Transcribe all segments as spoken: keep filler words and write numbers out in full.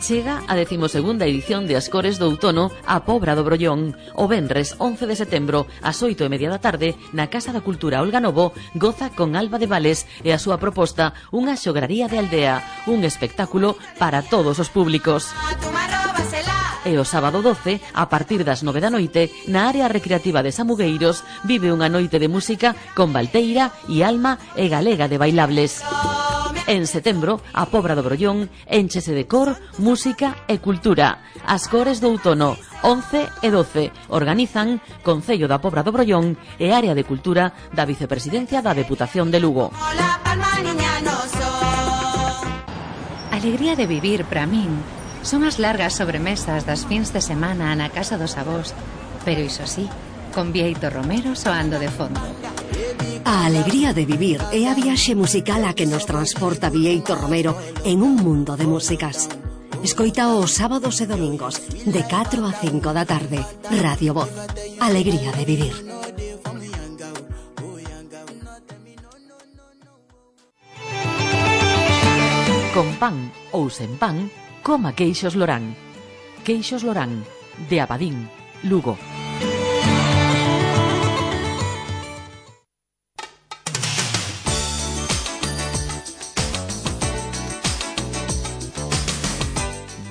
Chega a decimosegunda edición de As Cores do Outono a Pobra do Brollón. O venres once de setembro, ás oito e media da tarde, na Casa da Cultura Olga Novo, goza con Alba de Vales e a súa proposta Unha xograría de aldea, un espectáculo para todos os públicos. E o sábado doce, a partir das nove da noite, na área recreativa de Samugueiros, vive unha noite de música con Valteira e Alma e Galega de Bailables. En setembro, a Pobra do Brollón énchese de cor, música e cultura. As Cores do Outono, once e doce, organizan Concello da Pobra do Brollón e Área de Cultura da Vicepresidencia da Deputación de Lugo. Alegría de vivir para min son as largas sobremesas das fins de semana na casa dos avós, pero iso sí, con Bieito Romero soando de fondo. A alegría de vivir é a viaxe musical a que nos transporta Bieito Romero en un mundo de músicas. Escoita os sábados e domingos de catro a cinco da tarde. Radio Voz. Alegría de vivir. Con pan ou sen pan, coma queixos Lorán. Queixos Lorán, de Abadín, Lugo.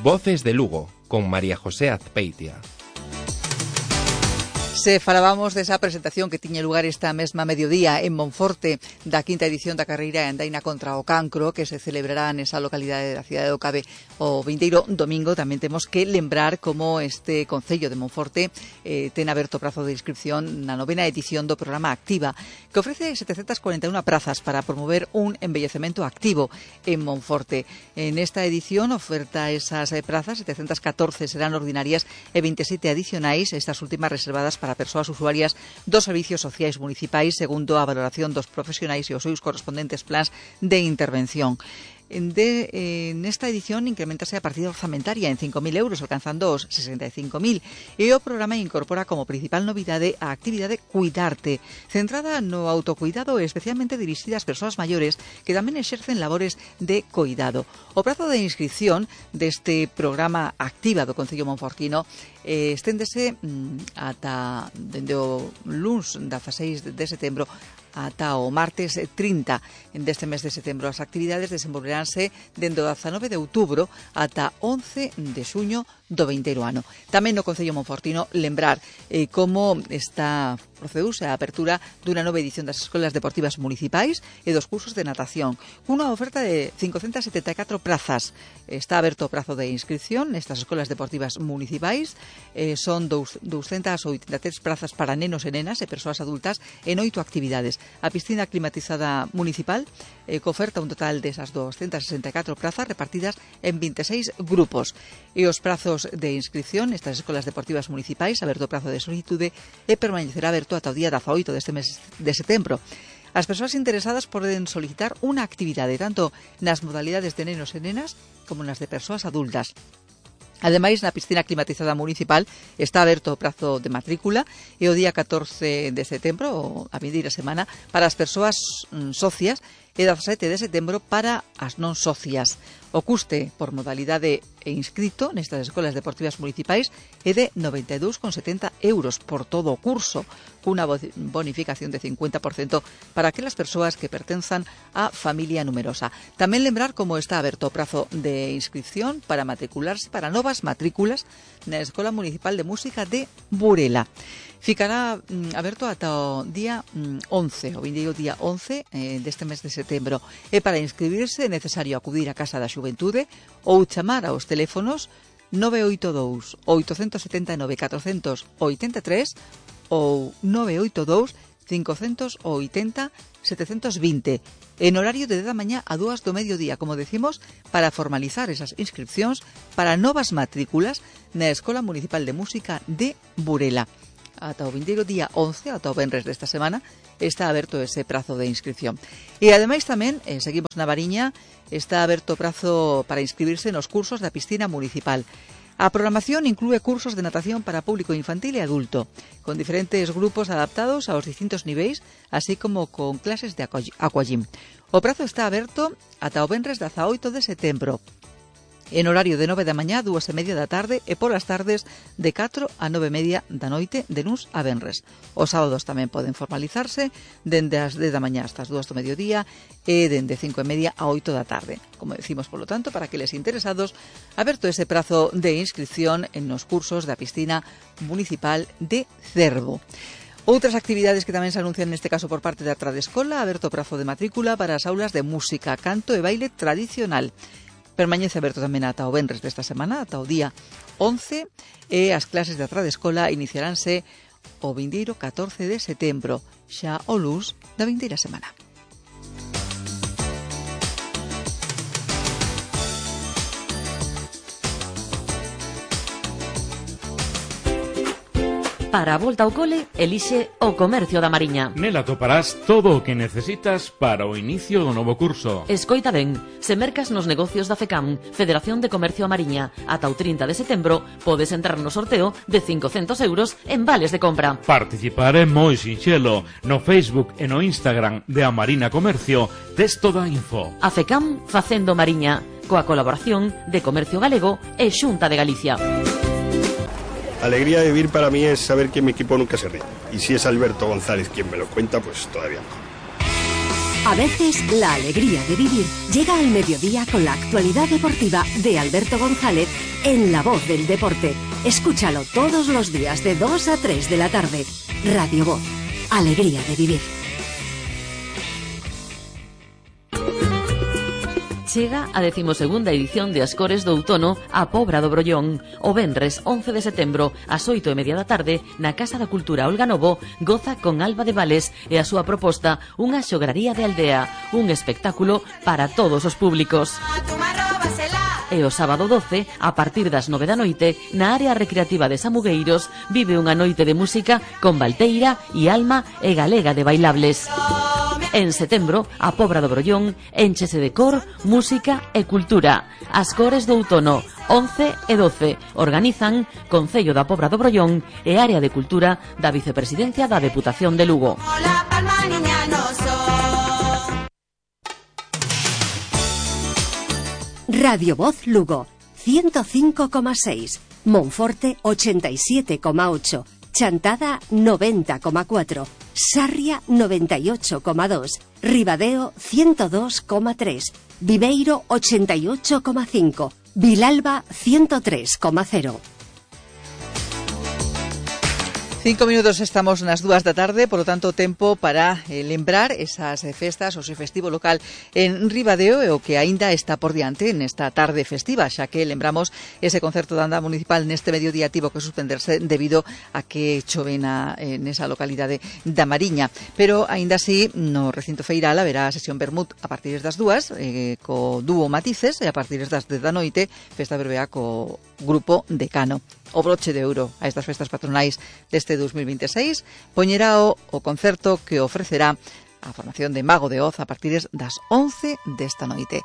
Voces de Lugo, con María José Azpeitia. Se falábamos desa presentación que tiña lugar esta mesma mediodía en Monforte da quinta edición da carreira Andaina contra o Cancro, que se celebrará nesa localidade da cidade do Cabe o vindeiro domingo. Tamén temos que lembrar como este Concello de Monforte eh, ten aberto prazo de inscripción na novena edición do programa Activa, que ofrece setecentas cuarenta e unha prazas para promover un envellecemento activo en Monforte. En esta edición oferta esas prazas, setecentas catorce serán ordinarias e veintisiete adicionais, estas últimas reservadas para persoas usuarias dos servicios sociais municipais segundo a valoración dos profesionais e os seus correspondentes plans de intervención. De, eh, nesta edición incrementase a partida orzamentaria en cinco mil euros, alcanzando os sesenta e cinco mil, e o programa incorpora como principal novidade a actividade Cuidarte, centrada no autocuidado e especialmente dirixida ás persoas maiores que tamén exercen labores de cuidado. O prazo de inscripción deste programa Activa do Concello Monfortino eh, esténdese mm, ata dende o luns dezaseis de setembro ata o martes trinta deste mes de setembro. As actividades desenvolveránse dende o dezanove de outubro ata once de xuño do vindeiro ano. Tamén no Concello Monfortino lembrar eh, como está procedeuse a apertura dunha nova edición das escolas deportivas municipais e dos cursos de natación, cunha oferta de cincocentas setenta e catro prazas. Está aberto o prazo de inscripción nestas escolas deportivas municipais. Eh, son doscientas oitenta e tres prazas para nenos e nenas e persoas adultas en oito actividades. A piscina climatizada municipal eh, que oferta un total desas doscientas sesenta e catro prazas repartidas en veintiséis grupos. E os prazos de inscripción nestas escolas deportivas municipais, aberto o prazo de solicitude e permanecerá aberto ata o día dezaoito deste mes de setembro. As persoas interesadas poden solicitar unha actividade tanto nas modalidades de nenos e nenas como nas de persoas adultas. Ademais, na piscina climatizada municipal está aberto o prazo de matrícula e o día catorce de setembro, a vindeira semana, para as persoas socias e dezasete de setembro para as non socias. O custe por modalidade e inscrito nestas escolas deportivas municipais é de noventa e dous con setenta euros por todo o curso, cunha bonificación de cincuenta por cento para aquelas persoas que pertenzan á familia numerosa. Tamén lembrar como está aberto o prazo de inscripción para matricularse para novas matrículas na Escola Municipal de Música de Burela. Ficará mm, aberto ata o día mm, once, o vindeiro día once eh, deste mes de setembro. E para inscribirse é necesario acudir á Casa da Xuventude ou chamar aos teléfonos nove oito dous, oito sete nove, catro oito tres ou nove oito dous, cinco oito zero, sete dos zero en horario de dez da mañá a dúas do mediodía, como decimos, para formalizar esas inscripcións para novas matrículas na Escola Municipal de Música de Burela. Ata o vindeiro día once, ata o venres desta semana, está aberto ese prazo de inscripción. E ademais tamén, eh, seguimos na Mariña, está aberto o prazo para inscribirse nos cursos da piscina municipal. A programación inclúe cursos de natación para público infantil e adulto, con diferentes grupos adaptados aos distintos niveis, así como con clases de aquagym. O prazo está aberto ata o venres dezaoito de setembro. en horario de nove da mañá, dúas e media da tarde, e polas tardes de catro a nove e media da noite, de luns a venres. Os sábados tamén poden formalizarse dende as dez da mañá hasta as dúas do mediodía e dende cinco e media a oito da tarde. Como decimos, polo tanto, para aqueles interesados, aberto ese prazo de inscripción en nos cursos da piscina municipal de Cervo. Outras actividades que tamén se anuncian neste caso por parte da Tradescola, aberto prazo de matrícula para as aulas de música, canto e baile tradicional. Permanece aberto tamén ata o venres desta semana, ata o día once, e as clases da Tradescola iniciaránse o vindeiro catorce de setembro, xa o luns da vindeira semana. Para a volta ao cole, elixe o Comercio da Mariña. Nela toparás todo o que necesitas para o inicio do novo curso. Escoita ben, se mercas nos negocios da FECAM, Federación de Comercio a Mariña, ata o trinta de setembro, podes entrar no sorteo de cincocentos euros en vales de compra. Participar é moi sinxelo. No Facebook e no Instagram de A Marina Comercio tes toda a info. A FECAM facendo Mariña, coa colaboración de Comercio Galego e Xunta de Galicia. Alegría de vivir para mí es saber que mi equipo nunca se ríe. Y si es Alberto González quien me lo cuenta, pues todavía mejor. A veces, la alegría de vivir llega al mediodía con la actualidad deportiva de Alberto González en La Voz del Deporte. Escúchalo todos los días de dos a tres de la tarde. Radio Voz. Alegría de vivir. Chega a decimosegunda edición de Ascores do Outono a Pobra do Brollón. O venres once de setembro, ás oito e media da tarde, na Casa da Cultura Olga Novo, goza con Alba de Vales e a súa proposta unha xograría de aldea, un espectáculo para todos os públicos. E o sábado doce, a partir das nove da noite, na área recreativa de Samugueiros, vive unha noite de música con Valteira e Alma e Galega de Bailables. En setembro, a Pobra do Brollón énchese de cor, música e cultura. Ascores do Outono, once e doce, organizan Concello da Pobra do Brollón e Área de Cultura da Vicepresidencia da Deputación de Lugo. Radio Voz Lugo, ciento cinco coma seis, Monforte ochenta y siete coma ocho, Chantada noventa coma cuatro, Sarria noventa y ocho coma dos, Ribadeo ciento dos coma tres, Viveiro ochenta y ocho coma cinco, Vilalba ciento tres coma cero. Cinco minutos estamos nas dúas da tarde, polo tanto tempo para eh, lembrar esas eh, festas, o seu festivo local en Ribadeo e o que aínda está por diante nesta tarde festiva, xa que lembramos ese concerto da anda municipal neste mediodía tivo que suspenderse debido a que chove na, eh, nesa localidade da Mariña. Pero aínda así, no recinto feiral haberá a sesión Bermud a partir das dúas, eh, co dúo Matices, e a partir das dez da noite, festa berbea co grupo Decano. O broche de ouro a estas festas patronais deste dos mil veintiséis poñerá o, o concerto que ofrecerá a formación de Mago de Oz a partir das once desta noite.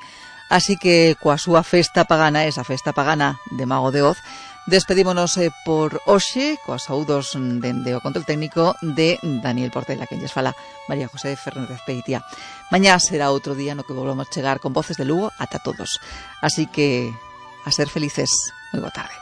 Así que coa súa festa pagana, esa festa pagana de Mago de Oz, despedímonos eh, por hoxe coas saúdos dende o control técnico de Daniel Portela, quen lles fala María José Fernández Peitia. Mañá será outro día no que volvamos chegar con Voces de Lugo ata todos. Así que a ser felices. Moi boa tarde.